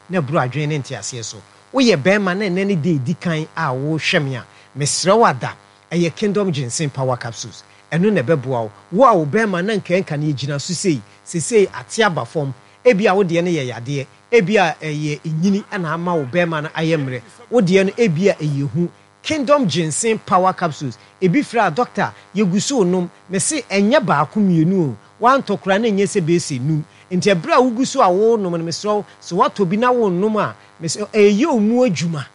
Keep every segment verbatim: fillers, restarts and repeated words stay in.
Na ɛboro adwene ne nteaseɛ so. Woyɛ bɛrima na ɛnɛ ne de edi kan a wɔrehwɛ me a, mesrɛ wo ada, ɛyɛ Kingdom Ginseng Power Capsules, ɛno na ɛbɛboa wo. Wo a wo bɛrima na nkanka no yɛgyina so sei, sesei ate aba fam, ebi a wo deɛ no yɛ yadeɛ, ebi a ɛyɛ nyini ɛna ama wo bɛrima no ayɛ mmerɛ, wo deɛ no ebi a ɛyɛ hu, Kingdom Ginseng Power Capsules ebi fira a, doctor, yɛgu so nom. Mese ɛnyɛ baako mmienu o, wantɔ koraa na ɛnyɛ sɛ bɛɛsɛ num. Nti ɛberɛ a wogu so a wonom no, mesrɛ wo, sɛ woatɔ bi na wonnom a, mesrɛ, ɛyɛ wo mu adwuma.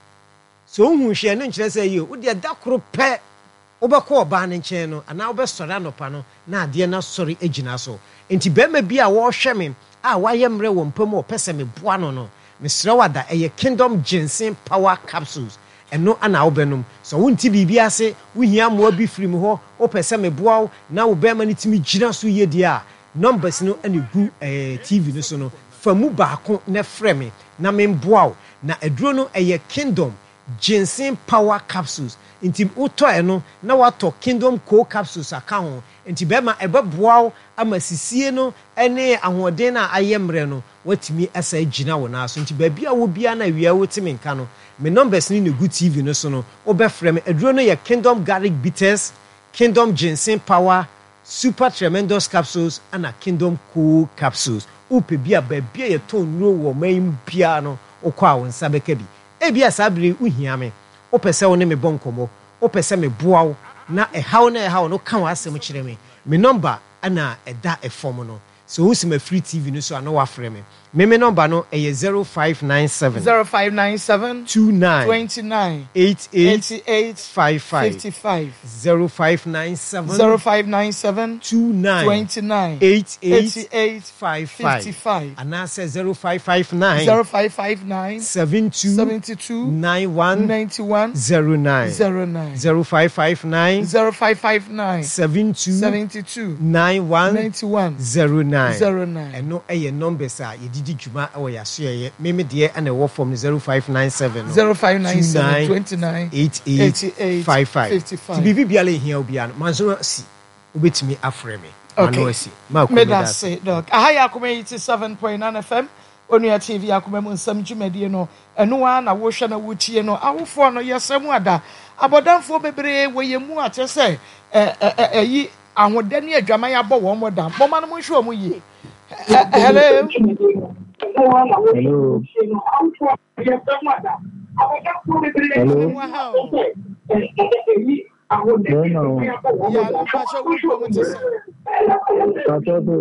Sɛ wohu hwɛ no nkyerɛ sɛ ɛyɛ wo deɛ da koro pɛ wobɛkɔ ɔbaa no nkyɛn no anaa wobɛsɔre anɔpa no na adeɛ no asɔre agyina so. Nti bɛrima bi a wɔrehwɛ me a wayɛ mmerɛ wɔ mpa mu a ɔpɛ sɛ meboa no no mesrɛ wo ada, ɛyɛ Kingdom Ginseng Power Capsules, ɛno ana wobɛnom. Sɛ wonti biribi ase, wohia mmoa bi firi mu hɔ, wopɛ sɛ meboa wo na wo bɛrima no tumi gyina so yie deɛ a, numbers no ɛna gu ɛɛ T V no so no, fa mu baako na frɛ me na memboa wo. Na aduro no ɛyɛ Kingdom Ginseng Power Capsules, nti wotɔ ɛno na watɔ Kingdom Co Capsules aka ho. Nti bɛrima, ɛbɛboa wo ama sisie no ne ahoɔden no a ayɛ mmerɛ no watumi asa gyina wo nan so. Nti baabi a wɔ biara na awia wote me nka no, me numbers no na egu T V no so no, wobɛfrɛ me. Aduro no yɛ Kingdom Garlic Bitters, Kingdom Ginseng Power, Super Tremendous Capsules ana Kingdom Co Capsules. Wopɛ bi a, baabi a yɛtɔn nnuro wɔ ɔman yi mu biara no, wokɔ a wo nsa bɛka bi. Ebi a saa bere wohia me, wopɛ sɛ wo ne me bɔ nkɔmmɔ, wopɛ sɛ meboa wo na ɛhaw na ɛhaw no ka w'asɛm kyerɛ me, me number ɛna ɛda ɛfam no. Sɛ wohu sɛ mafiri T V no so a, na wafrɛ me. Me me number no ɛyɛ zero five nine seven zero five nine seven two nine twenty nine eight eight eighty eight five five. fifty five. zero five nine seven zero five nine seven two nine twenty nine eight eight eighty eight five five. fifty five. Anaasɛ zero five five nine zero five five nine seven two seventy two nine one ninety one zero nine. zero nine. zero five five nine zero five five nine seven two seventy two nine one ninety one zero nine. zero nine. Ɛno ɛyɛ numbers a yɛdidi dwuma ɛwɔ yɛasoɛyɛ. Meme deɛ ɛna ɛwɔ fam no, zero five nine seven no zero five nine seven twenty nine eight eight eighty eight five five. fifty Nti five. biribi biara ɛhia wo biara no, manso asi, wobɛtumi afrɛ me. Okay. Mano asi ma Meda meda ase. ase, Doc. Aha yɛ Akoma eighty seven point nine F M, Onua T V, Akoma mu Nsɛm dwumadie no. Ɛno ara na wohwɛ na wotie no. Awofoɔ no, yɛsrɛ mu ada. Abɔdanfoɔ bebree wɔ yɛn mu a kyerɛ sɛ ɛ ɛ ɛ ɛyi ahodɛ ne adwaman abɔ wɔn mo dam. Mɔma no mo nhwɛ wɔn yie. Ɛ ɛ hello. Hello. Hello. Mu aha o. Bẹ́ẹ̀ni o. Yà mepakyɛ, wo mpɔ mu te sɛ. Pàṣẹ tó.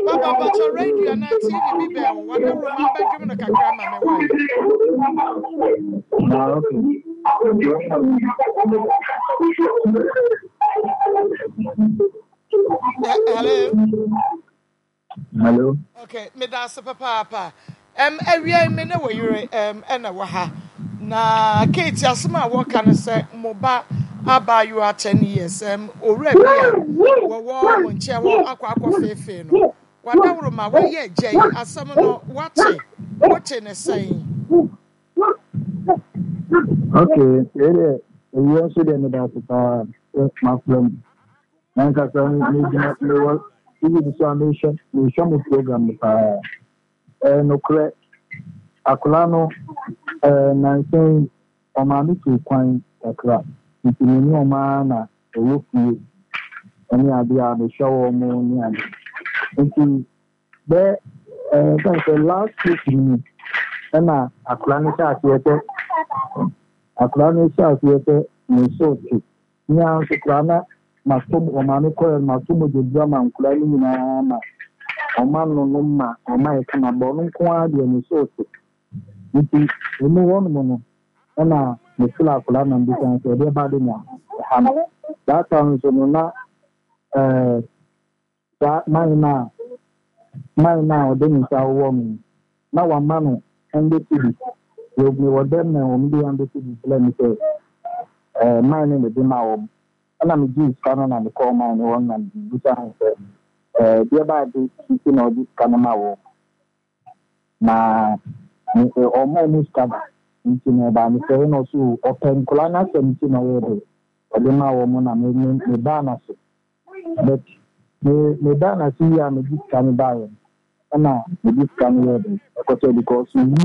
Papa, mpakyɛ, radio anaa T V bi bɛn wo. Wɔde roma abɛdwom no kakra ma me wae. Ah, okay. Ɛ hello. Hello. Okay, meda ase papaapa. Um, awia yi me ne wɔ yere um, ɛna wɔ ha. Na Kate, asɛm a wɔka no sɛ mo ba abaayewa ten years, um, owura bi a wɔwɔ mo nkyɛn hɔ akɔ akɔ feefee no. Wadaworo ma wɔyɛ agya yi, asɛm no wate, wote ne sɛn? Okay, wei deɛ, ewia nso deɛ, meda ase paa sɛ mafrɛ mu. Nankasa megyina mewɔ T V no so a mehwɛ mehwɛ mo program no paa. Ɛyɛ nokorɛ, akwadaa no ɛɛ nansa yi ɔmaame tu kwan kakra, nti me ne ɔmaa na ɛwɔ fie ɛne adeɛ a mehwɛ wɔn mo ne ade. Nti bɛɛ ɛɛ sɛ sɛ last week ni ɛna akwadaa no hyɛ aseɛ sɛ akwadaa no hyɛ aseɛ sɛ ne so te. Nyɛ nso koraa na mato ɔmaame kɔɛ no, mato mogyaduru ama nkwadaa no nyinaa ma ɔma no no ma ɔma yɛ kama bɔ ɔno nko ara deɛ ne so te. Nti emu hɔnom no ɛna mefrɛ akwadaa na mbisa no sɛ ɛdeɛ ba de na ɛha no. That time nso no na ɛɛ saa man no a man no a ɔde ne nsa wowɔ me no na wama no hundred cedis. Mewɔ dɛm na wɔn de hundred cedis brɛ me sɛ ɛɛ man no na ɛde ma wɔn. Ɛna megye sika no na mekɔɔ man no hɔ na mebisa no sɛ ɛɛ deɛ ba ade nti na ɔde sika no ma wɔn na ɔma ɔmo sika da. Nti na ɛbaa me sɛ ɛna ɔso ɔpɛ nkɔla n'asɛm nti na ɔyɛ de ɔde ma wɔn. Na me me me baa n'ase, but me me baa n'ase yi a megye sika no baeɛ no, ɛna megye sika no yɛ de ɛkɔtɔ because mehu